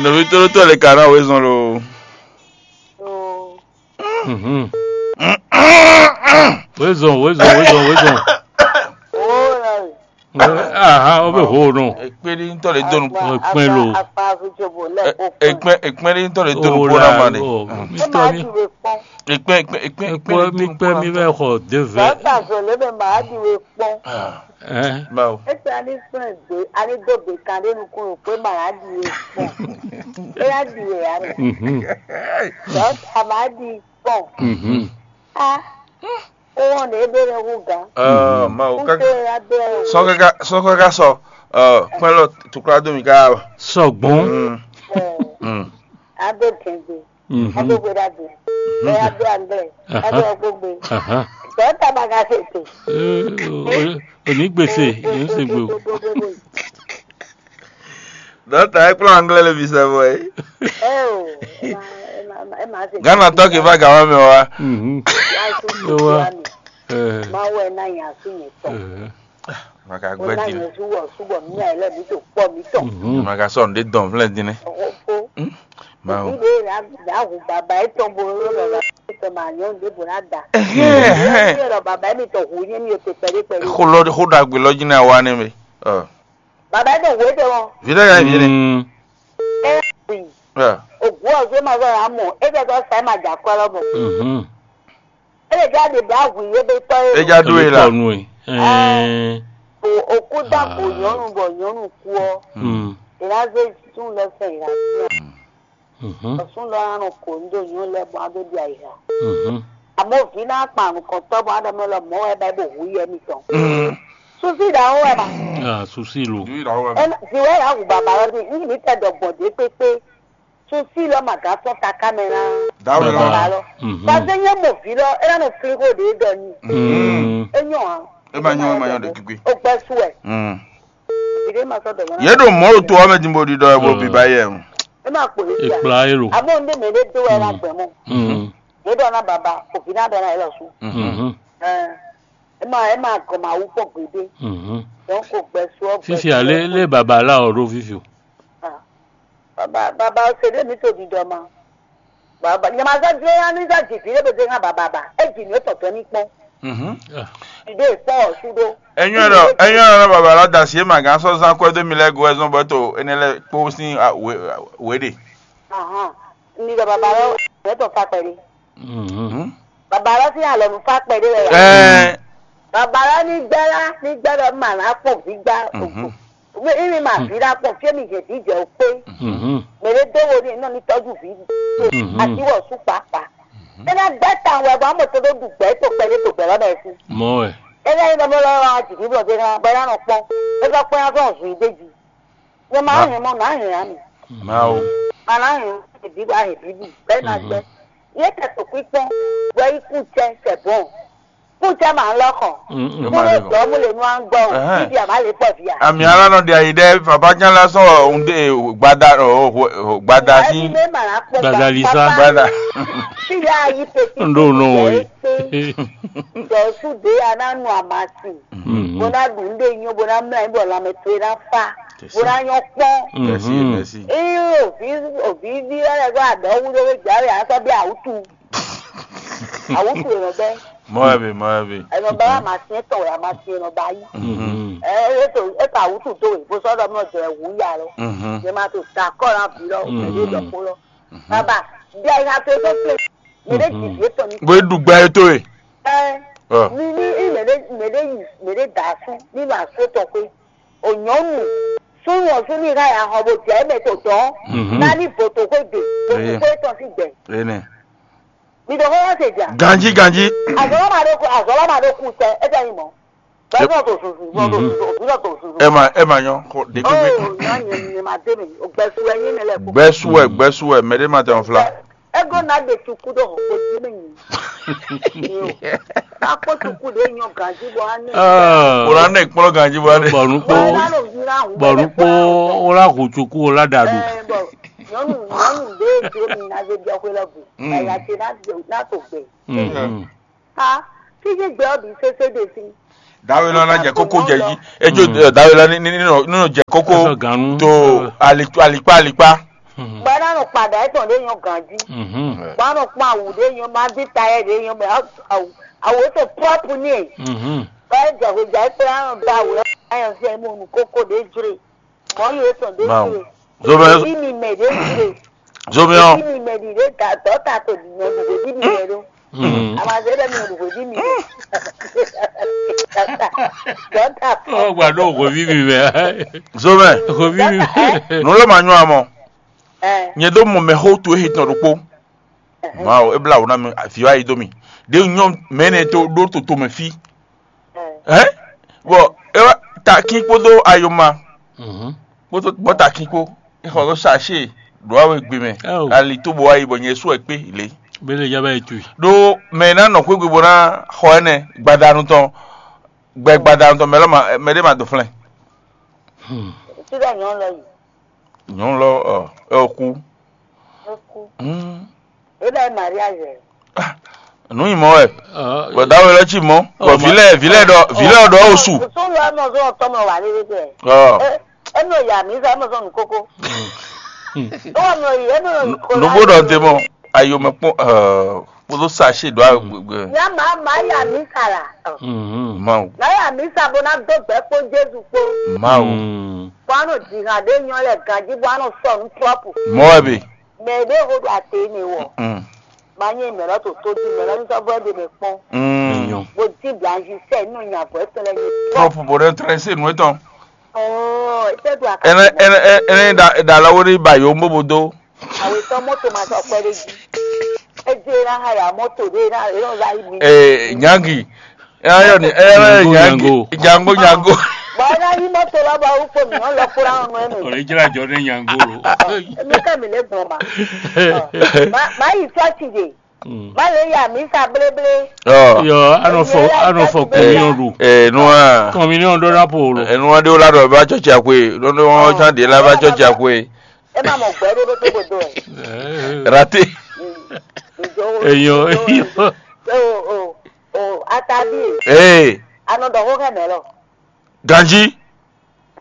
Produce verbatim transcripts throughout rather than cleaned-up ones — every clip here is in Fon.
Nɔví tlóló tɔn lě ka ná wezɔn lo. Mhm. Wezɔn, wezɔn, wezɔn, wezɔn. Aha, o bɛ ho nɔ. Ekpé ɖi ŋutɔ lè donu. Ekpɛn lo. Ekpɛn ekpɛn ɖi ŋutɔ lè donu kpó na ma ɖe. Mitɔ mi. Ekpɛn ekpɛn ekpɛn Ekpɔ mi kpɛ mi bɛ xɔ de vɛ. Dɔkta zɔlɛ bɛ maa ɖi we kpɔn. Ɛn. Bawo. Ete ani kplɛn gbe ani do gbe kan ɖe nukun lo kpe maa ɖi we kpɔn. E ya ɖi we ya ɖe. Mhm. Dɔkta maa ɖi kpɔn. Mhm. A. Owó ne ebe lɛ hu gán. Ɔ mawu kaka. Kúkú ya bɛ. Sɔ kaka sɔ kaka sɔ. Ɔ kpɛlɔ tukla do mi ka. Sɔgbɔn. Mm. Mm. Ado gɛngbe. Mhm. Ado gbe ɖagbe. Ɛ ado anglɛ. Ado gbogbe. Aha. Dɔta baga se te. Ee, o- o- Oní gbèsè, yóò ṣe gbé o. Dɔta ɛ kplɔ anglɛ le bi sɛ bɔ ye. Ɛ o, ɛ ma ɛ ma ɛ ma se. Ghana tɔ kì í bá gàmá mi wa. Mhm. Wa su Yo wa. Wa mi. Ɛ. Ma wɛ na yan su yẹn tɔ. Ɛ. Maka O gbɛ na din. Yẹn su wɔ su bɔ mi ayɛ lɛ mi to kpɔ mi tɔ. Mhm. Maka sɔ nde dɔn flɛ din ne. O o. Hmm? Ma o. Ibe la la hu baba etɔn bo lo lɔ la etɔn ma nyɔ nde bo na da. Ehɛn, ehɛn. Ibe lɔ baba mi tɔ hu nyɛ mi o te pɛɖe pɛɖe. Xo lɔ xo ɖagbe lɔ dzi na wa ne mi. Ɔ. Baba etɔn hu etɔn. Vile ya vile. Mm. E wi. Ɔ. Ogu ɔ zwe ma zɔ ya mɔ. E bɛ tɔ sa ma ja kɔ lɔ mɔ. Mhm. E lè jáde bá hwǐ é bɛ tɔ é. E ja do e la. Tɔnu e. Ɛɛ. O o kú dá kó nyɔnu bɔ nyɔnu kú ɔ. Mm. Ìlà zé tún lọ sẹ ìlà sí. Mhm. Ọ̀sùn lọ rán kò ń dò yín lẹ bọ́n adó di àyíká. Mhm. Àmọ́ òfin náà pa àrùn kan tọ́ bọ́n adọ́mọ́ lọ mọ́ ẹ bá ibò hu yẹ mi tán. Susi ìdáhùn ẹ ma. Ah, susi lo. Ìwé ìdáhùn ẹ Ẹ ma. Má- Ìwé ìyá hù bàbá rẹ bí ní mi tẹ dọ̀gbọ̀n dé pépé. Susi lọ màgá sọ ta kámẹ́rà. Dáwọ̀ Bàbá. Bàbá lọ. Mhm. Pàṣẹ yẹn mọ̀ fi lọ ẹ lánà filigo de dọ ni. Mm. Ẹ yàn án. Ẹ máa yan ẹ máa yan de gbígbé. Ó gbẹ sú ẹ. Mm. Ìdí ma sọ dọ̀gbọ̀n. Yé ɖo mɔ̌ ɖo to ɔ́ mɛ din bó ɖiɖɔ ɛ bó bíbá yɛ o. Ẹ máa pò é sí à. Ìkplá èrò. Àmọ́ ndé mẹ́lẹ́ dó ẹ lágbẹ̀ẹ́ mọ́. Mm. Yé dọ̀ ná bàbá òfin náà dọ̀ ná ẹ lọ sùn. Mhm. Ẹ ẹ máa ẹ máa gàn máa wú pọ̀ gbèdé. Mhm. Donc kò gbẹ sú ọ gbẹ Fífi sú àlé ọ. Lé bàbá aláwọ̀ ɖó fífi o. Ah. Bàbá bàbá ṣe lé mi tó di dọ̀ ma. Bàbá nyama sọ dúró yá ní sọ jì fi lé bèbè ŋà bàbá bà. Ẹ jì ní ó tọ̀tọ̀ ní pọ́n. Mhm. Ah. Ìdè ìpọ́n ọ̀ṣun dó. Ẹ̀yin ọ̀rọ̀ ẹ̀yin ọ̀rọ̀ bàbá aládàsí ẹ̀ màgán sọ zán kọ́ ẹ́ dó mi lẹ́gọ̀ọ́ ẹ̀ zọ́n bọ́ tó ẹni lẹ́ kpó sí wéde. Ahàn. Ní ìjọba bàbá rẹ̀ ẹ̀ tó fa pẹ̀lú. Mhm. Bàbá rẹ̀ sì hàn lọ́nu fa pẹ̀lú rẹ̀ yá. Ẹ Bàbá rẹ̀ ní gbẹ́rá ní gbẹ́rọ̀ mà ná pọ̀ gbígbá òkú. Mhm. Wé ìrìn mà bí rà pọ̀ fí èmi yẹn díjẹ́ ò pé. Mhm. Mèrè dówó ní iná ní tọ́jú bí. Mhm. Àti wọ̀ sún pàápàá. Ẹ ná gbẹ́ tàn wẹ̀ bọ́ àmọ̀ tó ló dùn gbẹ́ tó pẹ̀lú tó bẹ̀rẹ̀ bẹ́ẹ̀ sí. Mọ́ ẹ̀. Ẹ ná yín lọ́mọ lọ́wọ́ àwọn jìbí bọ̀ dé náà bẹ́ẹ̀ náà pọ́n. Ẹ sọ pé wọ́n fẹ́ ọ̀sùn ìdéjì. Yẹ máa Ma- hẹn mọ́ máa hẹn àmì. Máa o. Máa hẹn ìbí wa hẹn bíbí bẹ́ẹ̀ náà gbẹ. Yẹ kẹtọ pípọ́n wẹ ikú jẹ sẹ̀bọ̀n. Kú jẹ màá lọ́kàn. Mm, mm. Kúrò jọ mú lè nu à ń gbọ́ o. Ẹhẹ́n. Bíbí àmà lè pọ̀ bíà. Àmì alánà di àyè dẹ́ bàbá jẹ́ lásán òun dé gbada gbada sí. Ẹni mẹ́ màá pọ̀ Gbadalisa. Gbada. Sílẹ̀ ayé pẹ̀tí. Ndo no we. Jọ̀ọ́sù dé anánu àmàsì. Mhm. Bó ná dùn ún dé nyó bó ná mlá yín bɔ lanmɛ towe ná fá. Bó ná nyɔ́ kpɔ́n. Merci, mhm, merci. Eye òbí òbí ví lɛ́ lɛ́ gbọ́ àdɔ̌ wú lórí ìjà rẹ̀ á sɔ́ bí àwùtú. Àwùtú èèyàn bẹ́ẹ̀. Mɔɛbi, mɔɛbi. Èèyàn bá wà máa tiẹ́ tọ̀ wẹ̀ á máa tiẹ́ èèyàn bá yí. Mhm. Ẹ ẹ tó ẹ tó àwùtú tó wẹ̀ bó sọ́dọ̀ mọ́ jẹ wù ú yà lọ. Mhm. Yẹ máa tó ta kọ́ náà bí lọ, mhm, èdè ìdọ̀kú lọ. Mhm. Bàbá, bí a yà tó tó pè, mèdè jì bí ètò ní. Bó dùgbà ètò ẹ̀. Ẹ Ɔ. Ní ní ní mèdè mèdè yìí mèdè dà á fún nínú àsótọ̀ pé ònyọ́nù súnmọ́ súnmí ká yà hàn bó jẹ́ mẹ́tò tán. Mhm. Nání bòtò pé dè bòtò pé tán sí gbẹ̀. Ene. Mi dɔgɔ wa se ja. Ganji ganji. Azɔlɔ ma ɖo ku azɔlɔ ma ɖo ku tɛ e tɛ yi mɔ. Bɛɛ sɔ to susu bɔ to susu òbí lɔ to susu. Ema ema nyɔ ko de ko. Oh nyɔ nyɛ nyɛ ma de mi o gbɛ su ɛ nyi ne lɛ ko. Gbɛsuɛ gbɛsuɛ mɛ ɖe ma tɛ ɔn fla. Ego na de tuku ɖo o di mi nyi. Akpɔ tuku ɖe nyɔ ganji bɔ ani. Ah. O la ne kplɔ ganji bɔ ne. Bɔnu kpɔ. Bɔnu kpɔ o la hu tuku o la da do. Ɛ bɔ nyɔnu nyɔnu ɖe do mi na ze biɔ xwe lɔ bu. Mm. Ɛya te na do na to gbɛ. Mm. Ha, fífi gbɛ ɔ́ bǐ sésé ɖe sín. Dawe lɔ na jɛ kókó jɛ jí. Edzo dawe lɔ ní ní nínú jɛ kókó. Ɛsɔ ganu. To alikpa alikpa alikpa. Mhm. Bɔ é ná nɔ kpa ɖa étɔn ɖé nyɔ́ ganjí. Mhm. Bɔ á nɔ kpɔ́n awu ɖé nyɔ́, má bí tayɛ ɖé nyɔ́, bɔ awu awu étɔn prɔ́pu n'i. Mhm. Bɔ é jɛ hwejǎ é kplá nɔ dó awu lɛ́ɛ, á nyɔ fí ɛ mɔ nǔ kókó ɖé jlé. Mɔ̌ yi étɔn ɖé Mawu. Jlé. Zomɛ Bí mi mɛ ɖé jlé. Zomɛ ɔ. Bí mi mɛ ɖi ɖé da dɔ̌ta to ɖi nyɔ ɖi ɖé bí mi mɛ ɖó. Mhm. Amazɛ ɖe mi ɖu hweví mi ɖe. Dɔ̌ta. Ó gba ɖó hweví mi mɛ. Zomɛ. Hweví mi mɛ. Nǔ ló ma nyɔ amɔ. Ɛ. Nyɛ ɖó mɔ mɛxó towe xitɔn ɖokpó. Mawu, é blá wǔ ná mi, vǐ wá yi dó mi. Ɖě nyɔ mɛ énɛ́ tó ɖó toto mɛ fí. Ɛ. Hɛn? Bɔ é wá takín kpódó ayoma Mhm. Kpódó bɔ takín kpó. É xɔ ɖó sachet ɖó awe gbe mɛ. Ao. Ali tó bɔ wá yi bɔ nyɛ sú wɛ kpé lě. Bele ya bɛ tu. Ɖó mɛ e ná nɔ xwé gbe bó ná xɔ ɛnɛ gbadanu tɔn, gbɛ gbadanu tɔn mɛ lɔ ma mɛ ɖé ma dó flɛ́n. Hmm. Tí bɛ nyɔ̌ lɔ yi. Nyɔ̌nu lɔ ɔ ɛ ɔ kú. É kú. Hmm. É bɛ mariage. Nǔ nyi mɔ wɛ. Bɔ dawe lɔ ci mɔ. Bɔ vǐ lɛ vǐ lɛ ɖɔ vǐ lɛ ɖɔ o su. Sɔn lɔ ɛmɔ zɔn tɔmɔ wà lé bɛ. Ɔ. Ɛmɔ yà mí sá ɛmɔ zɔn nukoko. Ɛmɔ yì ɛmɔ nukoko. Nubó ɖɔ te mɔ. Ayo mɛ kpɔn kpódó sachet ɖo agbègbè. Nya ma ma yà mí sara. Mawu. Na yà mí sa bó ná dó gbɛ kpó Jésù kpó. Mawu. Bó a nɔ dǐ hàn ɖé nyɔ lɛ ganjí bó a nɔ sɔ nú trɔ́pù. Mɔ wɛ be. Mɛ ɖé ho ɖo ate ne wɔ. Mm. Ba nyɛ mɛ lɔ to tó di mɛ lɔ ní sɔ́ vɔ ɖe mɛ kpɔn. Mm. Bó dín blanzisɛ nínú nya bɔ ɛtɔ lɛ ní. Trɔ́pù bó ɖe trɛsé nú etɔn. Ɔɔ, etɛ do aka. Ɛnɛ ɛnɛ ɛnɛ da da lɔ wo ní ba yo mbo bo do. Awe tɔ mɔto ma sɔ kpɛ ɖe jí. Edze na ha ya mɔto ɖe na e nɔ la yi mi. Ee, nyangi. Eyɔ ni eyɔ ni Nyango, nyangi. Nyango. Nyango nyango. Bɔ ena yi mɔto lɔ bɔ wukpo mi nɔ lɔ kura nɔ ɛmɛ. Ɔlɛ jira jɔ ne nyango lo. Emi ka mi le gbɔn ma. Ma ma yi tɔ ti de. Mm. Ma le ya mi sa bleble. Ɔ. Yɔ anɔ fɔ anɔ fɔ communion ɖu. Ee nua. Communion ɖɔ na po lo. Enua ɖe wo la ɖɔ va tsɔtsi akwe. Ɖo ɖo wọn tsán ɖe la va tsɔtsi akwe. E ma mɔ gbɛ ɖo ɖo tó godo ɛ. Rate. Eyɔ eyɔ. O o o atabi. Ee. Anɔ dɔ xó xɛ mɛ lɔ. Ganji.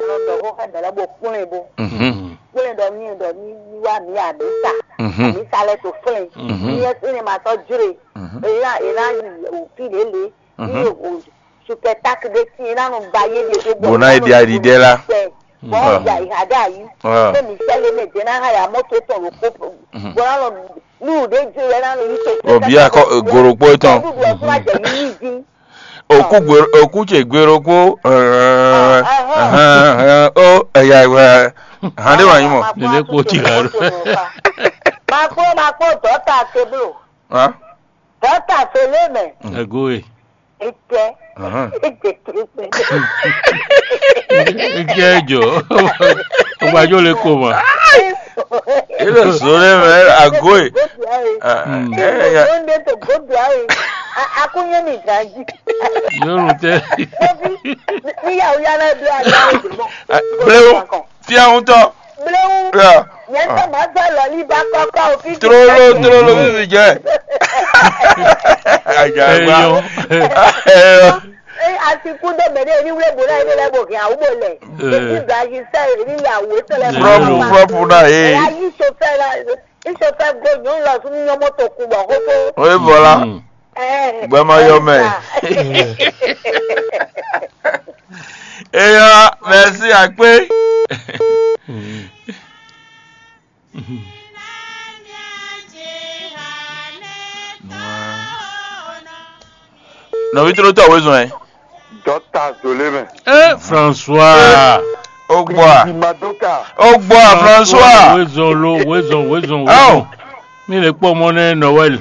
Anɔ dɔ xó xɛ mɛ lɔ bo kplɔn bo. Mhm. Kplɔn dɔ mi dɔ mi mi wa mi amisa. Mhm. Amisa lɛ to flɛn. Mhm. Mi yɛ sini ma tɔ jure. Mhm. Eya ena yi o fi lele. Mhm. Ni o spectacle ɖé tíin ná nɔ ba yé ɖe dó gbɔ. Bó ná yi ɖi aɖiɖɛ lá. Bɔn ya yi ha ɖe ayi. Pé mi sɛ lé mɛ dze ná ha ya mɔto tɔn ló kó. Bó ná nɔ nú ɖé dze yɛ ná nɔ yi tó. Obi akɔ goro kpó etɔn. Nú ɖu ɔkú ma jɛ yí yí dín. Òkú gbèrò òkú tse gbèrò kpó. Ó ẹ̀yà ìwẹ̀ hàn dé wà yín mọ̀. Nene kpó ti rà ló. Ma kpó ma kpó dɔta teblo. Dɔta teblo mɛ. Ego e. Ete. Ete teblo. Eke jɔ. Ogbajo le ko ma. Ele sore mɛ agoe. Lóńdé tó gbódò ayé. Akúnyé mi gàjí. Yóò tẹ. Níyàwó yára bí agbára ìdìbò. Blewu. Fia ŋutɔ. Blewu. Nyɛ tɔ ma zɔ lɔli ba kɔkɔ o fi. Trolo trolo fi fi jɛ. Agagba. Eyɔ. Asi kú dó mɛ ɖé ní wúlé bò náà ilé lɛ́ bò hɛn àwú bò lɛ. Ní blayi sɛ ní yà wò tɛ lɛ. Prɔpu prɔpu náà ee. Ɛyà yí sofɛ la ní sofɛ go nyɔnu lɔ sún nyɔ mɔto kú bɔ kókó. O ye bɔ la. Gbɛmɔ yɔ mɛ. Eyɔ mɛsi akpé. Nɔvi tló tɔ wezɔn ɛ. Dɔta zolé mɛ. Ɛ François. O gbɔ a. Madoka. O gbɔ a François. Wezɔn lo wezɔn wezɔn wezɔn. Mi le kpɔ mɔ nɛ Noël.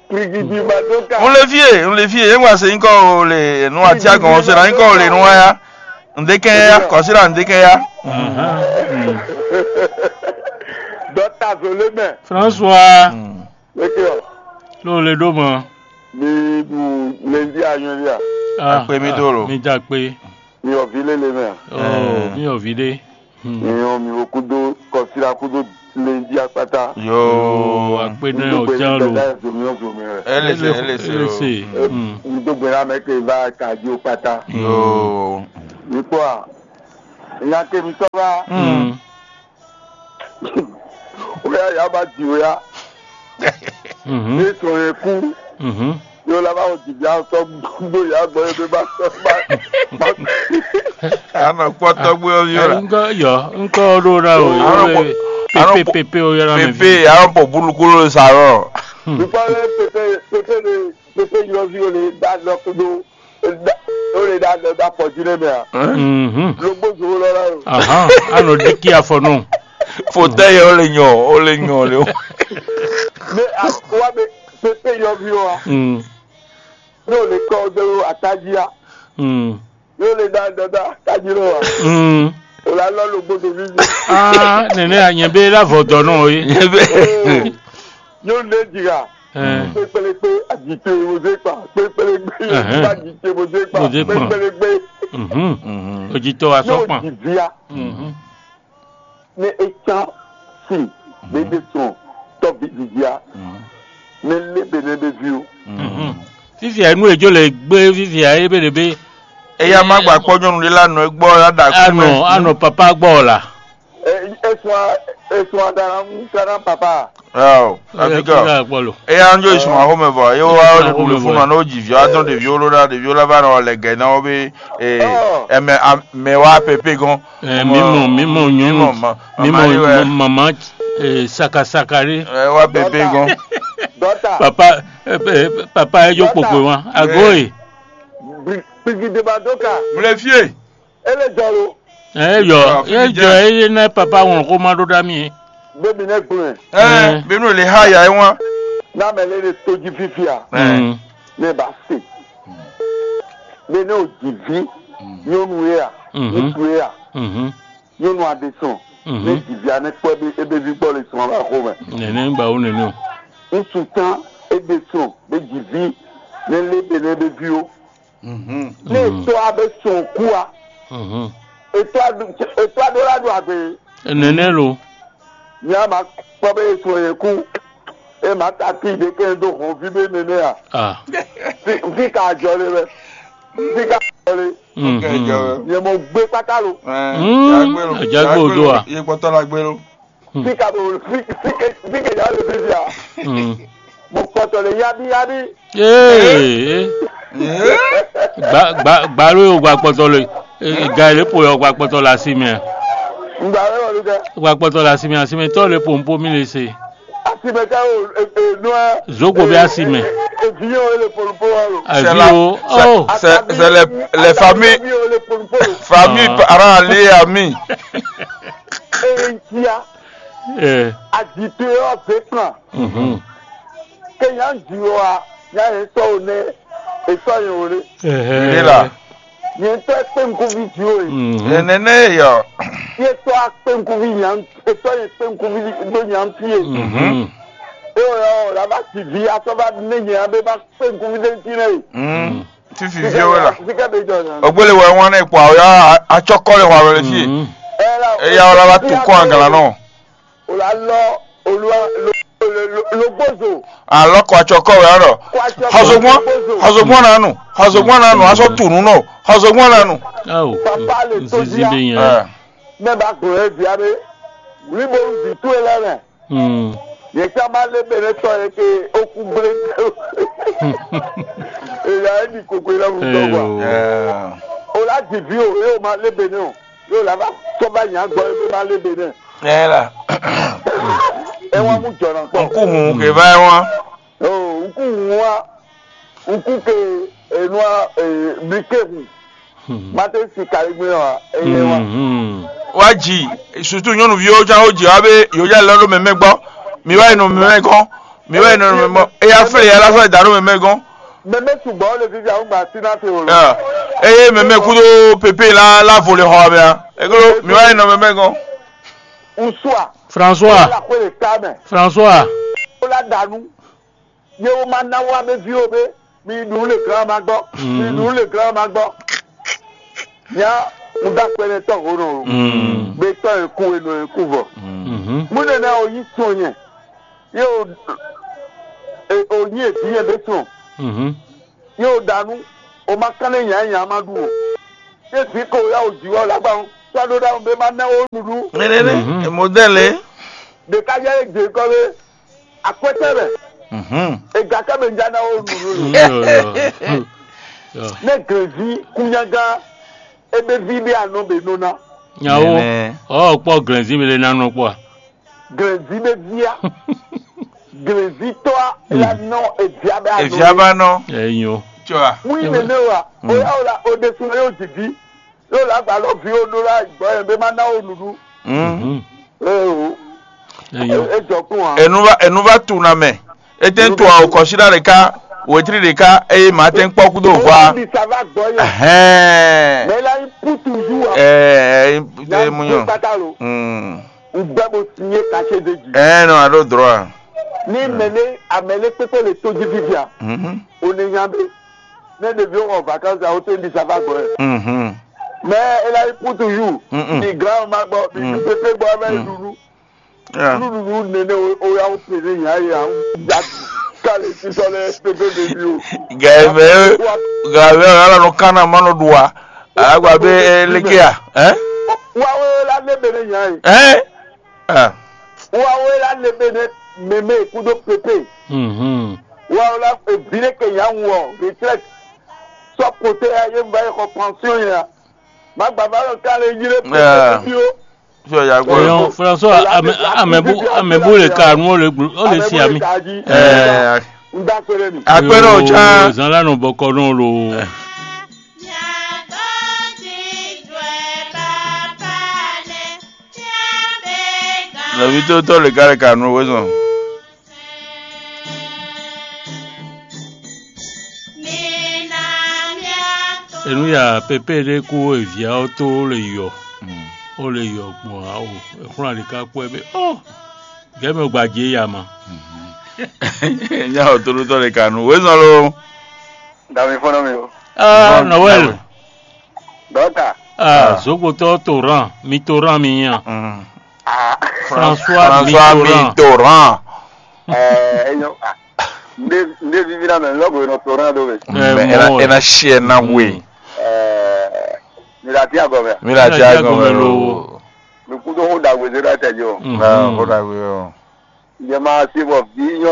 Brigidi Madoka. N le fie, n le fie, e ŋgba se nyikɔ o le nu ati agɔn o se na nyikɔ o le nu wa ya. N de kɛ ya, kɔsi la n de kɛ ya. Dɔta zolé mɛ. François. Leke ɔ. Ló le ɖó mɔ. Mi ɖu levi anyɔ lia. Ah, akpe mi do lo. Mi dza kpe. Mi yɔ vi lele mɛ. Oh, mi yɔ vi ɖe. Nyɔn mi wo kudo kɔsira kudo levi akpata. Yoo, akpe nɛ o jan lo. Ele se, ele se. Ele se. Mi do gbe na mɛ ke va kaji o kpata. Yoo. Mi kpɔ a. Nya ke mi tɔ va. Mm. Pé ya ba ji wɛ ya. Mhm. Ní sɔn yɛ kú. Mhm. Yóò lá bá wọ jìbìá sɔ gbó ya gbɔ yóò bá sɔ bá. Anɔ kpɔtɔ gbé ɔyɔ la. Ŋkɔ yɔ, ŋkɔ ɖo ɖa o. Anɔ yɔ kpɔ- anɔ Pepe kpɔ- pepe o yɔrɔ mi. Pepe, anɔ pɔ bulukolo sa rɔ. Nípa lɛ pépé pépé ne pépé yɔvi o le dá lɔ kudo o le dá lɔ dá pɔ jí nɛ mɛ a. Mhm. Logbo zo lɔ la o. Ahan, anɔ diki afɔ nɔ. Fotɛyi o le nyɔ, o le nyɔ le o. Ne a wa be pépé yɔvi o a. Mm. Ne o le kɔ o de o ataji a. Mm. Yóò lé dá dɔdá kájí lɔ wa. Mm. O la lɔ lo gbódò mí. Ah, nene a nyɛ be la vɔ dɔ nɔ ye. Nyɔnu ɖé jira. Eh. Kpékpélékpé aditɔ mo zé kpa. Kpékpélékpé Ɛhɛn. Aditɔ mo zé kpa. Mo zé kpa. Kpékpélékpé. Mhm. Ojitɔ wa sɔ Yóò kpan. Di via. Mhm. Ne é cán sin ɖé ɖe tɔn tɔ́ví didi a, ne lé be ne be ví o. Mhm. Fifia nu e jo le gbe fifia e be le be. Eya ma gba kpɔ nyɔnu ɖé la nɔ egbɔ la da kú mɛ. Anɔ anɔ papa gbɔ la. Esua esua dara ŋu kana papa. Awo, Abigail. Kpɔ lo. Eya ń jó ìsùn àhómẹ vɔ yóò wá Ìsùn àhómẹ fún vɔ. Nɔ ní ó jì vió adán ɖèvió ló ná ɖèvió lá bá nɔ lɛ gɛ ná ó bí. Ɔ. Ɛmɛ mɛ wá pépé gɔn. Eh, mímɔ mímɔ nyɔnu mímɔ ma- mímɔ mama yi wɛ. Mama eh, sakasaka ɖé. Ɛ wá pépé gɔn. Dɔta. Papa eh, eh, papa ɛ jó kpokpo wa ago e. Kpikideba dó ka. Mle fie. Ele jɔ lo. Ɛ yɔ Ah, ɛ fífi jɔ jɛ. Ɛ yé ná papa wɔn kó má ɖó ɖá mi. Bébí ne gblɔɛ. Ɛ Eh. Bínú lè há yà é wá. N'a mɛ lé ne tójú fífia. Mm. Ne ba se. Bene o dzi vi nyɔnu ye a, Mhm. Ŋutsu ye a, Mhm. Nyɔnu aɖe sɔn. Mhm. Ne dzi vi anɛ kpɔ ebe ebe vi gbɔ le sɔn aba xo mɛ. Nene gba wo nene o. Ŋutsu tán ebe sɔn be dzi vi ne le be ne be vi o. Mhm. Ne etɔ abe sɔn ku a, Mhm. Etɔ adu etɔ aɖo la ɖo agbe. Nene lo. Nya ma kpɔ be esɔ yɛ ku. E ma ta ti ɖe kɛ do hɔn vi be nene a. Ah. Fi fi ka jɔ le bɛ. Fi ka jɔ le. Mhm. Nyɛ mɔ gbe kpata lo. Mm, Jagbe lo. Jagbe o do a. Ye kpɔtɔ la gbe lo. Fi ka bo fi fi ke fi ke ya le fi fi a. Mm. Mo kpɔtɔ le yabi yabi. Ee. Gba gba gba ló yóò gba kpɔtɔ le. Ga yi lé po yɔ gba kpɔtɔ le asi mɛ. Ngba wɛ wɔ lu kɛ. Gba kpɔtɔ le asi mɛ asi mɛ tɔ le po npo mi le se. Asi mɛ ka o e e nu ɛ. Zogo bɛ asi mɛ. E vi yɛ o le polo polo wa lo. Avi o. Oh. C'est c'est les les familles. Vi o le polo polo. Famille Ah. Parents alliés amis. E n tia. Eh. Adi to yɔ ve kpan. Mhm. Ke nya ji o a nya yɛ sɔ o nɛ e sɔ yɛ o le. Eh. Ilé là. Yɛ tɔ kpe nkuvi ji o ye. Mhm. Nene yɔ. Yɛ tɔ a kpe nkuvi nya e tɔ yɛ kpe nkuvi do nya fi ye. Mhm. E o yɔ o la ba si vi a sɔ ba ne nya be ba kpe nkuvi de ti nɛ ye. Mm. Fifi viwo la. Sika be jɔ na. Ogbele wɛ wọn ne kpɔ awo ya atsɔkɔ le hwa wɛ le fi. Mhm. E ya o la ba to kɔ angala nɔ. O la lɔ olúwa logbozo. Alɔ kɔ atsɔ kɔ wɛ ɔrɔ. Xɔzogbɔn xɔzogbɔn nanu xɔzogbɔn nanu asɔ tunu nɔ xɔzogbɔn nanu. Awo. Papa le to Zizi dia. Be yẹn. Ɛ. Mɛ ba gblɔ yɛ via be wuli bo zi to yɛ lɛ mɛ. Hmm. Yɛ ká ma lé bɛ ne tɔ yɛ ke oku gblé. Eya e di kokoe la mu tɔ gba. Eyo. Ɛ. O la di vi o e o ma lé bɛ ne o. Yóò lá bá tɔ́ bá nyà gbɔ é bá lé be nɛ. Ɛ la. Ɛ wá mú jɔ̀nà kpɔ. Nkú hun kè bá ɛ wá. O nkú hun wá nkú ke enua bike hun. Mate si kari gbé wa eye wa. Wá jì sutu nyɔnuviwo ján ó jì wá bé yòójà lɔ ɖó mɛmɛ gbɔ mi wá yi nɔ mɛmɛ gɔn mi wá yi nɔ mɛmɛ gbɔ eya flɛ ya lásán da ɖó mɛmɛ gɔn. Mɛmɛ sugbɔ le fi fi àwọn gba sí náà ti wò lọ. Eye mɛmɛ kúdó pépé la la vo le xɔ abɛ a. Ekolo mi wá yi nɔ mɛmɛ gɔn. Usua. François. La kó le ká mɛ. François. Ó la dànù. Yé wó má ná wá mɛ ví o bé. Mi ɖu le grand ma gbɔ. Mi ɖu le grand ma gbɔ. Nya mo dá pẹlẹ tɔ ho nɔ o. Gbé tɔ yẹn kú enɔ yẹn kú vɔ. Mo nana o yí sɔn yẹn. Yé o o yí èdí yẹn bɛ sɔn. Yé o dànù. O ma kán lé nyà nyà ma ɖu o. Yé zi ko ya o jì wá o lágbá o. Sɔdó dá o bɛ ma ná o nuɖu. Mɛnɛnɛ modèle. Ɖeka jɛ e gbe kɔ be akwɛtɛ mɛ. Mhm. Ega kɛ mɛ ja na wo nunu. Yo, yo. Yo. Ne glevi kunyagã ebe vi ɖe anɔ be nɔ na. Nyawo. Nɛnɛ. Ɔ kpɔ glɛnzi mi le na nɔ kpɔ. Glevi be via. Glevi tɔ a la nɔ evia be anɔ. Evia ba nɔ. Enyo. Tsɔ a. Wi nene wa. O ya o la o de sun yo jigi. Yóò lá gbǎ lɔ ví ó ɖó lá gbɔ̌ yɛn bé má ná ó nǔɖuɖu. Mhm. Ee o. Eyo. É jɔ kún ǎ. Enu va enu va tu na mɛ. Ete to awo kɔsida ɖeka, wetri ɖeka, eye ma tɛn kpɔ kudo vɔ. Ó ní sava gbɔ̌ yẹn. Ɛhɛn. Mɛ la yí pútu yú wa. Ɛɛ, ɛɛ, ɛɛ, mu nyɔ. Kpata lo. Mm. Ŋgbɛ bo sinye kase de ji. Ɛɛ, nɔ, a ɖo drɔ a. Ní mɛ ne amɛ ne kpékpé le tó jí fífia. Mhm. O ne nya be. Ne ɖeviwo xɔ vacances awo to ɖi sava gbɔ ɛ. Mhm. Mais elle a eu pour toujours. Mm-mm. Di grand ma gbɔ, di Mm. Pépé gbɔ, ɛmɛ Mm. Lulu. Yeah. Lulu nene o ya o pele nya ya ya du kale sisɔ lɛ pépé bébí o. Gɛmɛ gɛmɛ ala nɔ kana ma nɔ do wa. Agba be leke ya, hein? Wa o la ne bene nya yi. Hein? Ah. Wa o la ne bene meme kudo pépé. Mhm. Wa o la vine ke nya wɔ retraite. Sɔ kote ya ye va xɔ pension ya. Ma gba va lɔ ka le yire pe Yeah. Bio. Sɔ ya gbɔ. Eyon François, ame ame bu ame bu le ka nu o le glu o le si ami. Eh, N da kpere ni. Akpɛrɛ o Yo, can. Zan la nɔ bɔkɔ nɔ lo. Nɔvi tó tɔ le ka le ka nu o wezɔn. Enu ya pépé ɖé kú eviá ɔ́ tó ó le yɔ, ó le yɔ gbɔn ǎ o. Exlɔ́ ali ka kpɔ́ ɛ bé ɔ gɛ̌ mɛ gba jǐ ya ma. Nya ɔ tónútɔ́ ɖé ka nu wězɔn lo. Dami fɔ́nɔ mi o. Ah, Noël. Dɔta. Ah, zokpotɔ Toran, mi Toran mi nya. Ah, François François Mitterrand. Mitterrand. Eh, enyo. Ah, nde nde vivi na mɛ lɔgo no Toran do be. Eh, Mais ena mo, ena share na we. Eh, mi la ti agɔ mɛ. Mi la ti agɔ mɛ lo. Mi kudo ho da we zero ta jo. Na ho da we o. Yɛ ma se bɔ vi nyɔ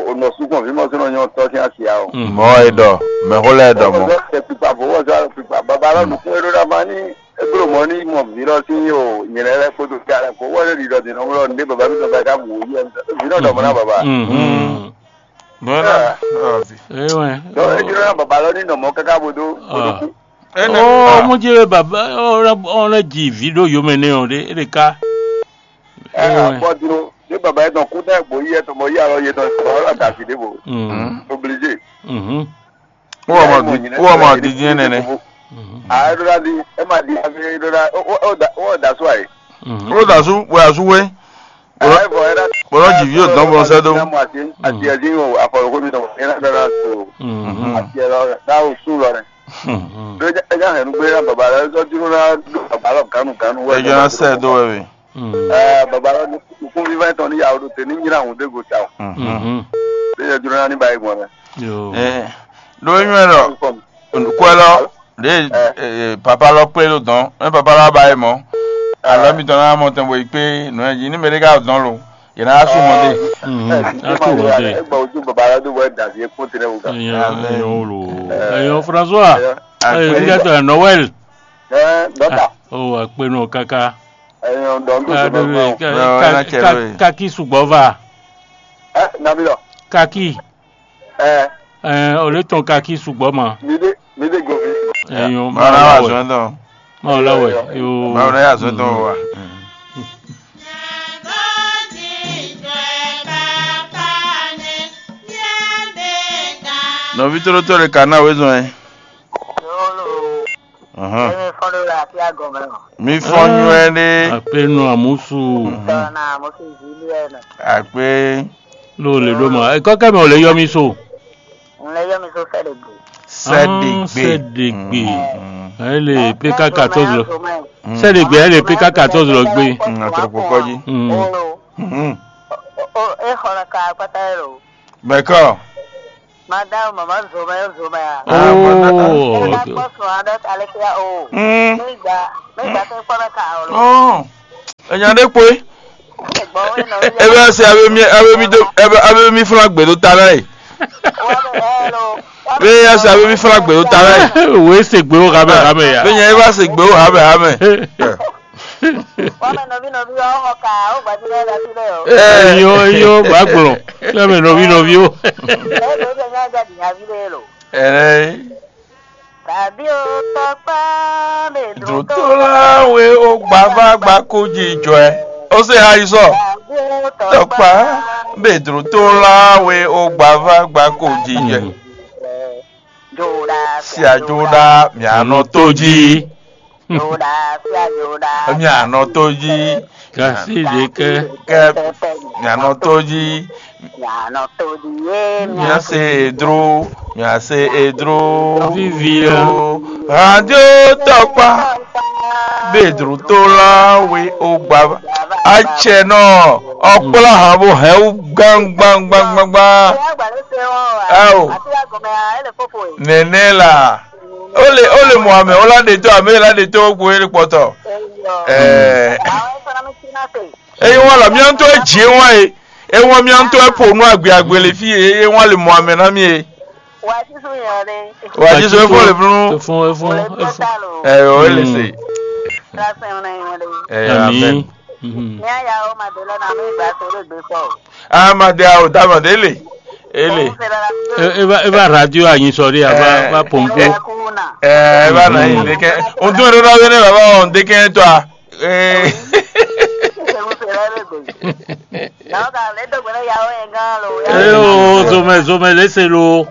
o nɔ sukun vi mɔ sɔnɔ nyɔ tɔ tiɲɛ asia o. Mɔ e dɔ, mɛ ho lɛ dɔ mɔ. Ɔkɔzɔ tɛ kpikpa bo wɔ zɔ kpikpa baba lɔ nukun e ɖo ɖa ma ni e klo mɔ ni mɔ vi lɔ si o nyɛlɛ lɛ kpo do fia lɛ ko wɔ lɛ ɖiɖɔ din nɔ wlɔ nde baba mi dɔ ba ka bu yi vi nɔ dɔ mɔ na baba. Bɔn na ɔvi. Ewe. Dɔ e jɔ na baba lɔ ni nɔ mɔ kaka bo do bo do ku. Ɔ mo jẹ baba ɔ lɛ ji vi ɖo yomɛ nɛ ɔ ɖe e ɖe ka. Ɛ abɔ dúró ní bàbá yẹn tán kú náà gbòó yẹ tọmọ yí àlọ́ yẹ tán tọmọ ọlọ́run àti àti débò. Obligé. Wọ́n mọ̀ di wọ́n mọ̀ di dín nẹ́nẹ́. Àádọ́rà di ẹ máa di abẹ́rẹ́ dọ́rà ó dà sọ àyè. Ó dà sú wẹ́ àsú wẹ́. Bọ́lá jì yóò dán bọ́lá sẹ́dó. Àti ẹ̀dín o àfọ̀rọ̀kọ́ mi tọmọ ẹ̀ náà dára tó. Àti ẹ̀rọ dáhùn sùn lọ rẹ̀. Ẹ já hẹ̀rú gbé náà bàbá rẹ̀ ẹ jọ́ dúró náà bàbá lọ gánú gánú wẹ̀. Ẹ jọ náà sẹ́dó wẹ̀ wẹ̀. Ɛɛ baba lɔ nukúnví vɛ́ tɔn ní yàwó ɖo te ní nyí ahùn dé go ta o. Ɖé yɛ jló ná ní ba yi gbɔn mɛ. Ɖó nyɔ́ lɔ kwɛ lɔ ɖé papa lɔ kplé ɖo dɔn mɛ papa lɔ ba yi mɔ alɔ mi tɔn ná mɔ tɛn bo yi kpé nɔ ɛ jí ní mɛ ɖé ká dɔn lo yě ná sú mɔ dé. Á sú mɔ dé. Ẹ gbà ojú baba lọ dó wẹ dàbí ekún tẹlẹ wò gan. Ẹyọ wò lò. Ẹyọ François. Ẹyọ nígbà tó yà Noël. Ẹ dọ́tà. Ó wà pé nù káká. Ẹyin ọ̀dọ́ ń dòdò lọ́gbọ́n. Kaki sugbɔ va. Ẹ nàbí lọ. Kaki. Ẹ. Ẹ o lè tɔn kaki sugbɔ ma. Mi dé mi dé gòmí. Ẹyin o ma Màá wà wà wẹ̀. Sọ́dọ̀. Ma wà wẹ̀. Yo. Màá wà yà sọ́dọ̀ wa. Nɔvi tlótló ɖe ka ná wezɔn ɛ. Yolo. Emi fɔn ɖo le afi agɔme o. Mi fɔn nyuɛ ɖe. Akpenu amusu. Tɔna mo fi Julienne. Akpe. Lo le ɖo ma. Ekɔ kɛ mɛ o le yɔ mi so. N le yɔ mi so sɛ ɖe gbe. Sɛ ɖe gbe. Sɛ ɖe gbe. Ele P K quatorze lɔ. Sɛ ɖe gbe ele P K quatorze lɔ gbe. Atrɔkpɔ kɔji. Olo. E xɔ na ka akpata yɛ lo. Bɛkɔ. Madame, maman zomɛ zomɛ a. Oh, okay. Kpɔsɔ aɖe aleke ya o. Mm. Migba migba ke kpɔ na ka o. Oh. Enya ɖe kpɔe. Ebe ɔ́ se abe mi abe mi do ebe abe mi flán gbe ɖo ta ná e. Be ya se abe mi flán gbe ɖo ta ná e. Wě se gbé ó hamɛ hamɛ ya. Be nya e va se gbe ó hamɛ hamɛ. Wame nɔví nɔví ɔ́ xɔ ka ó gbajúmọ̀ ẹ̀ lásìlẹ̀ o. Eyó eyó bá gblɔ. Lẹ́mi nɔví nɔví ó. Ẹ̀ ló ṣe nyá jáde nyá ví lé lo. Ɛnɛ. Tàbí o tọkpá lè dùn tó. Dùtúláwé ó gbavá gbakú jijɔ ɛ. Ó sì ha yi sɔ. Tàbí o tọkpá. Tọkpá bèdùtúláwé ó gbavá gbakú jijɔ ɛ. Jòdà sí àjòdà mìànà tó jí. Jòdà sí àjòdà. Mìànà tó jí. Gasi ɖe kɛ. Kɛ mìànà tó jí. Mìànà tó jí yé mìà. Mìà se edro, mìà se edro. Vivi ɔ. Radio tɔkpa. Bedro tó la we o gba. Atsɛ nɔ ɔkplɔ hàn bó hɛn wú gbangbangbangba. Ɛ o. Nɛnɛ la. Ó lè ó lè mɔ àmì ó lá ɖe tó àmì é lá ɖe tó gbó é lè kpɔtɔ. Ɛɛ. Eyín wọn lɔ mián tó é jì é wọn é. É wọn mián tó é po nú àgbè àgbè lè fí é é wọn lè mɔ àmì ná mi é. Wà á sísú yẹn o dé. Wà á jí so é fún lè fún. Efun efun efun. Ẹ yọ é lè sè. Kíláàsì ẹ̀ wọn náà yẹn o dé. Ẹ yọ amẹn. Ní àyà ó máa dé lọ́nà àmì ìgbà tó lè gbé pọ̀. Amade awo tamade ele ele. Eba eba radio anyi sɔri aba ba pompo. Eba na yi ndeke. Ontun ɖo na wene baba ɔ ndeke tɔ a. Ee. Ee o zomɛ zomɛ lese lo.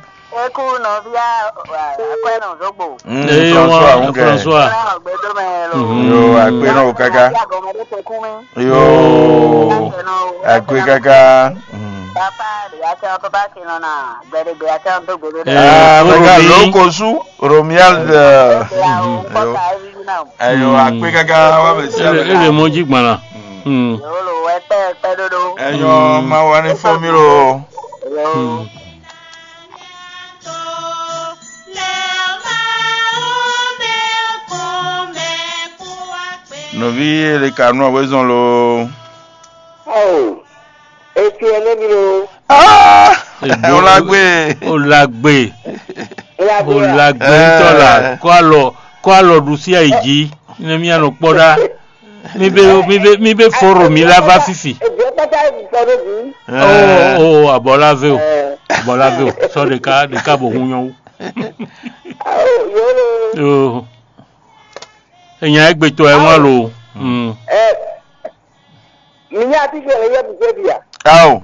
Eku nɔvia akwɛnɔ zogbo. Ee wa François. Yo akpe na o kaka. Agɔmɔdé tɛ kú mi. Yo akpe kaka. Papa de ya tɛ papa kinɔ na gbɛdegbe ya tɛ do gbɛdegbe. Ah mega loko su Romuald. Ayo akpe kaka wa bɛ si. Ele ele mɔ ji gbala. Yolo wɛ tɛ pɛ dodo. Ayo ma wa ni fɔ mi lo. Yo. Nɔví ele ka nú awɛzɔn lo. Ao, eti ɛnɛ mi lo. Ah, o la gbe. O la gbe. O la gbe ntɔ la. Kɔ alɔ kɔ alɔ ɖu sí ayi jí. Ne mi anɔ kpɔ ɖa. Mi be mi be mi be foro mi la va fifi. Eviɛ kpata yi kpɔ ɖo zi. Oh oh abɔ la ve o. Abɔ la ve o. Sɔ ɖeka ɖeka bo hun nyɔwu. Ao, yolo. Yo. Enya egbe tɔ ɛ wọn lo. Mm. Ɛ, mi nya ati ke le yɛ mi se bia. Ao.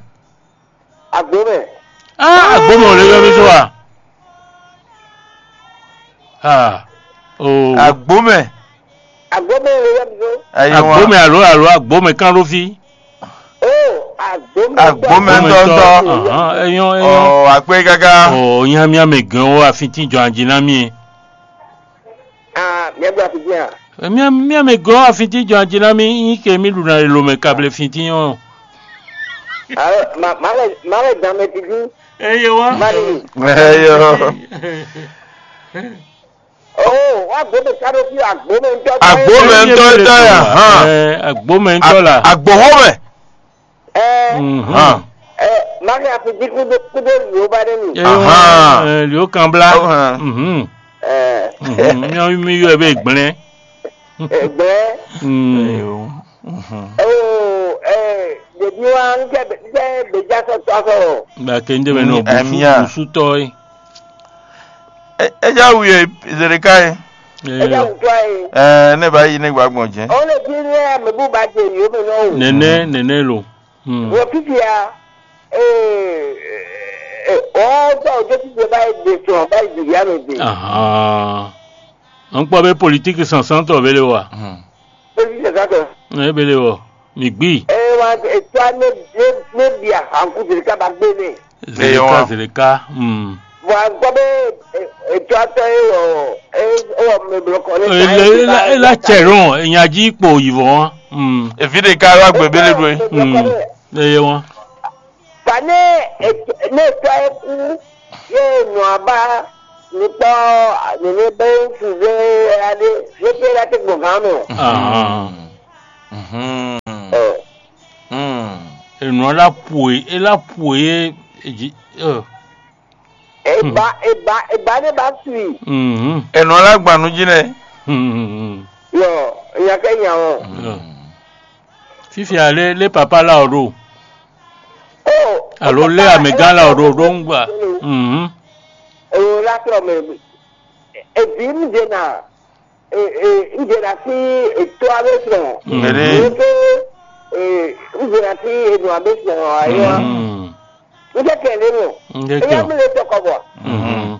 Agbo mɛ. Ah, agbo mɛ o le yɔ mi so a. Ah. Oh. Agbo mɛ. Agbo mɛ le yɛ mi so. Ayi wa. Agbo mɛ alo alo agbo mɛ kan ló fi. Oh, agbo mɛ. Agbo mɛ ntɔ ntɔ. Ahan, eyɔn eyɔn. Ɔ akpe kaka. Ɔ nyamia mɛ gɛn o afintin jɔ anjinami. Ah, mia gba fi dia. Mia mia mɛ gɔn afintin jɔ anjinami nyi ke mi ɖu na lo mɛ kable fintin ɔ. Ah, ma ma le ma le dan mɛ tidi. Eye wa. Ma le. Eyo. Oh, wa gbo de ka do fi agbo mɛ ntɔ. Agbo mɛ ntɔ ntɔ ya. Hàn. Ɛ agbo mɛ ntɔ la. Agbo hɔn mɛ. Ɛɛ, Mhm. Hàn. Ɛɛ, Maria fi jí kúdó kúdó yóò bá dé mi. Ahan. Ɛ lió kan blá. Ahan. Mhm. Ɛɛ, Mhm. Mi mi yɔ ebe gblɛn. Ɛgbɛ. Mm. Eyo. Mhm. Oo, ɛɛ, ɖevi wa n kɛ n kɛ gbedza sɔ tɔ sɔ. Ba ke n de mɛ nɔ Mm, busu amia. Busu tɔ ye. E e ja wu ye Zedeka ye. Ɛja Eyo. Wutɔ ye. Ɛɛ ne ba yi ne gba gbɔn jɛ. O le fi ne ame bu ba je yóò mɛ nɔ o. Nɛnɛ nɛnɛ lo. Hmm. Wɔ fifia, ee, ee, ɔ tɔ o jɛ fifia ba yi de sɔn ba yi de ya mɛ de. Ahan. N kpɔ be politiki sansantɔ bele wa. Hmm. Politique sɛsatɔ. Ne bele wɔ. Mi gbi. Ee wa etwa ne ne ne bia hanku de ka ba gbe ne. Zeleka Eywa. Zeleka. Hmm. Wa gbɔ be etwa tɔ ye wɔ e wɔ mɛ blɔ kɔ ne. Ele ele ele cɛ lɔn enyaji kpo yivɔ wa. Hmm. Evi ɖeka wá gbé bélé ɖó é. Hmm. Eye wọn. Ba ne ne tɔ ye kú ye nɔ aba nukpɔ nene be suze aɖe ye pe la te gbɔn gan mɛ. Ah. Mhm. Ɔ. Hmm. Enɔ la pue, ela pue e ji. Eba eba eba ne ba sui. Mhm. Enɔ la gban nu jí nɛ. Mhm. Yɔ, nya kɛ nya o. Fifia lé lé papa la o ɖo. Oh, alo lé amegã la o ɖo ɖo ŋgba. Mhm. O la trɔ mɛ. Ebi mi de na. Ŋdzena sín etɔ́ aɖé sɔn. Ŋɖe. Ŋɖe. Ŋdzena sín enɔ aɖé sɔn ayɔ. Ŋɖe kɛ lé mɔ. Ŋɖe kɛ. Eya mi le tɔkɔ bɔ. Mhm.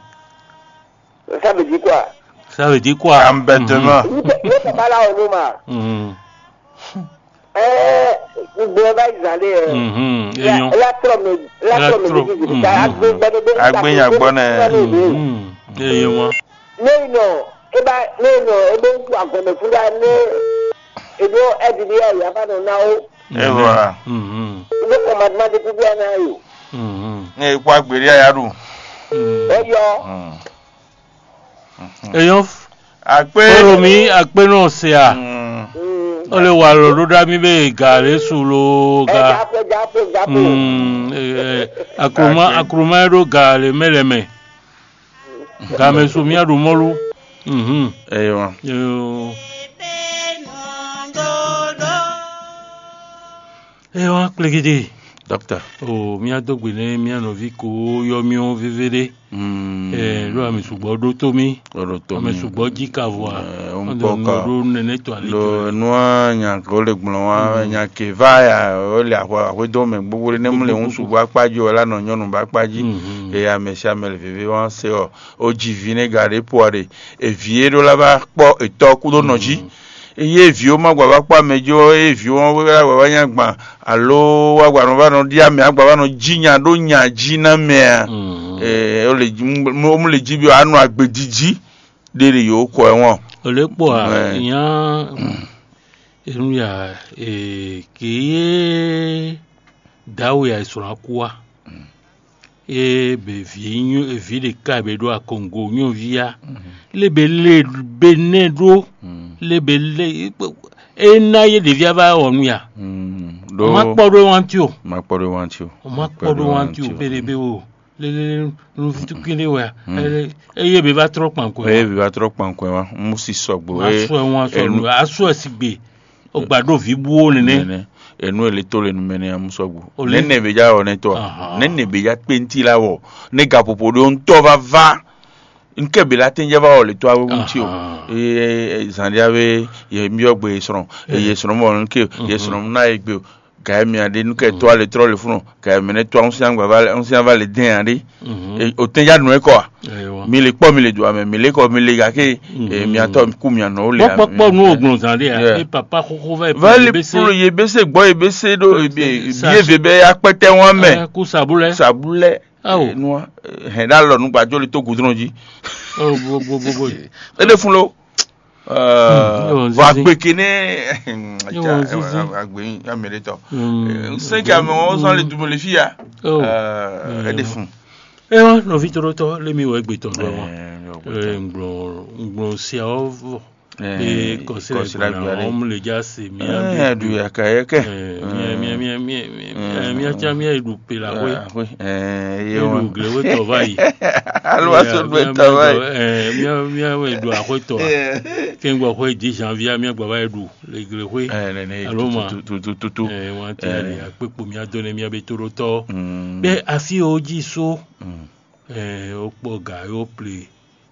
Ça veut dire quoi? Ça veut dire quoi? Embêtement. Ŋɖe baba la o nu ma. Mhm. Ɛɛ, gbogbo ɛ va yi zan ɖe ɛ. Mhm. Enyɔ. La trɔ mi la trɔ mi di di ka agbe gbɛdɛ de. Agbe nya gbɔ nɛ. Mhm. Enyɔ. Ne yi nɔ e ba ne yi nɔ e bɛ ŋku agɔmɛ fúnra ne e ɖo ɛdi ɖe ya ya va nɔ na wo. E voilà. Mhm. E bɛ kɔmadima de kúkú ya na yo. Mhm. Ne e kó agbe ɖe ya ɖu. Eyɔ. Eyɔ. Akpe. Kpɔɖo mì akpe nɔ se a. Mm. Ole wa lɔ ɖo ɖa mi be ga le su lo ga. Japo japo japo. Mm, eh, eh, akroma Akpe. Akroma ɖo ga le mɛ le mɛ. Ga mɛ su mia ɖu mɔlu. Mhm. Eywa. Yo. Eywa kplegede. Docteur. O mia do gbe ne mia nɔvi ko yɔ mi o veve ɖe. Mm. Eh, ɖo ame sugbɔ ɖo to mi. Ɖo to mi. Ame sugbɔ ji ka vɔ a. Eh, o ŋkpɔ ka. Ɖo nene to ali to. Lo nua nya ko le gblɔn wa nya ke va ya o le ahwe ahwe do mɛ gbogbo ɖe ne mu le ŋu sugbɔ akpa ji o la nɔ nyɔnu ba akpa ji. Mhm. Eya mɛ si ame le veve wa se ɔ o ji vi ne ga ɖe po a ɖe. Evi e ɖo la va kpɔ etɔ kudo nɔ ji. Eye viwo ma gba va kpɔ amɛ jí ɔ́, eye viwo ɔ́ wá wá nyá gban alo wá gba nɔ va nɔ ɖi amɛ agba va nɔ jí nya ɖó nya jí ná mɛ a? Ee, ó lè jí mú lè jí bí wàá nɔ agbèjì jí ɖé ɖe yǒ kɔ ɛ wɔn. Ò lě kpɔ a? Nya enu ya ee kì í yé dǎwe a è sɔ̀rọ̀ akú wa. Ée bě vǐ nyú vǐ ɖeka bě ɖo akɔngo nyɔ́ví á, lé bě lé bě nɛ́ ɖó, lé bě lé é ná yé ɖěví á vá wɔ nú ya. Ɖó má kpɔ́ ɖó wántí o. Má kpɔ́ ɖó wántí o. Má kpɔ́ ɖó wántí o bě ɖě bě o lélé nuvítúkín ɖé wɛ a. Eye bě vá trɔ́ kpankɔ eye wá. Bě vá trɔ́ kpankɔ wá mú sí sɔgbo Má eye sɔ ɛ wọn sɔ enu nù asɔ ɛ sigbe. O gba ɖó vǐ bú ó nɛnɛ. Nɛnɛ enu ele tó le numɛ nɛ amu sɔgbo. Nɛnɛ be ja wɔ nɛ tɔ. Nɛnɛ be ja kpe ŋti la wɔ ne gaƒoƒo ɖo ŋutɔ va va. Ŋkɛ be la tɛnjɛ va wɔ le to awe ŋuti o. Ee zan ɖia be ye miɔ gbe ye srɔn ye srɔn mɔ ŋke ye srɔn na ye gbe o. Gayɛ mia ɖe nu kɛ to ale trɔ le funu gayɛ mɛ ne to ŋusɛn agba va le ŋusɛn va le dɛn aɖe. O tɛnjɛ anu ekɔ a? Mi le kpɔ mi le do amɛ mi le kɔ mi le gake. Miatɔ ku mia nɔ wo le. Kpɔkpɔkpɔ nu o gbɔn zan ɖe a e papa xoxo va yi va le polo ye be se gbɔ ye be se ɖo bi eve bɛ akpɛtɛ wan mɛ. Ku sabulɛ sabulɛ. Awo. Hɛn ɖe alɔ nu gbajo le to gudrɔn ji. Bo bo bo bo. Ele fun lo. Vɔ agbe ke nɛ agbe amɛɖetɔ nsɛn ke ame wɔn sɔn le dumo le fi ya. Ɛɖe fun. Ewa nɔvi tɔɖɔtɔ le mi wɔ egbe tɔn dɔ wa. Ngblɔ ngblɔ sia wɔ vɔ. Ee kɔsira gbɔna wɔn mu le dza se mia bi du yaka yɛkɛ. Mia mia mia mia mia mia tsa mia yi ɖu pe la xwe. Ye ɖu gle xwe tɔ va yi. Alo wa so ɖu etɔ va yi. Mia mia wɛ ɖu axwe tɔ a. Kɛngbɔ xwe dix janvier mia gbɔ va yi ɖu le gle xwe. Alo ma tututu. Wan ti ali akpekpo mia do ne mia be to ɖo tɔ. Bɛ afi o ji so. O kpɔ ga yo ple.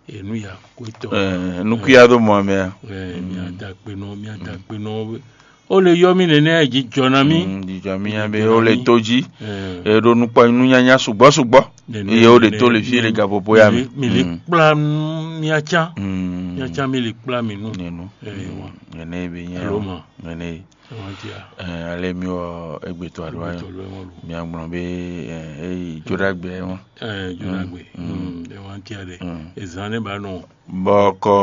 Enu ya kwetɔ. Nukuya ɖo mɔ mɛ a? Mia da akpe nɔ mia da akpe nɔ. O le yɔ mi nɛnɛ ji jɔ na mi. Jijɔ mi ya be o le to ji. E ɖo nukpɔ nunyanya sugbɔ sugbɔ. Eye o le to le fi le gaƒoƒo ya mi. Mi le kpla mia can. Mia can mi le kpla mi nu. Nenu. Nene be nya. Alo ma. Nene. Ɛɛ ale mi wɔ egbetɔ aɖo ayɔ mi agblɔ be ɛɛ eyi joɖagbe ɛ wɔn. Ɛɛ joɖagbe ɛ wɔn tia ɖe ezan ne ba nɔ. Bɔkɔ.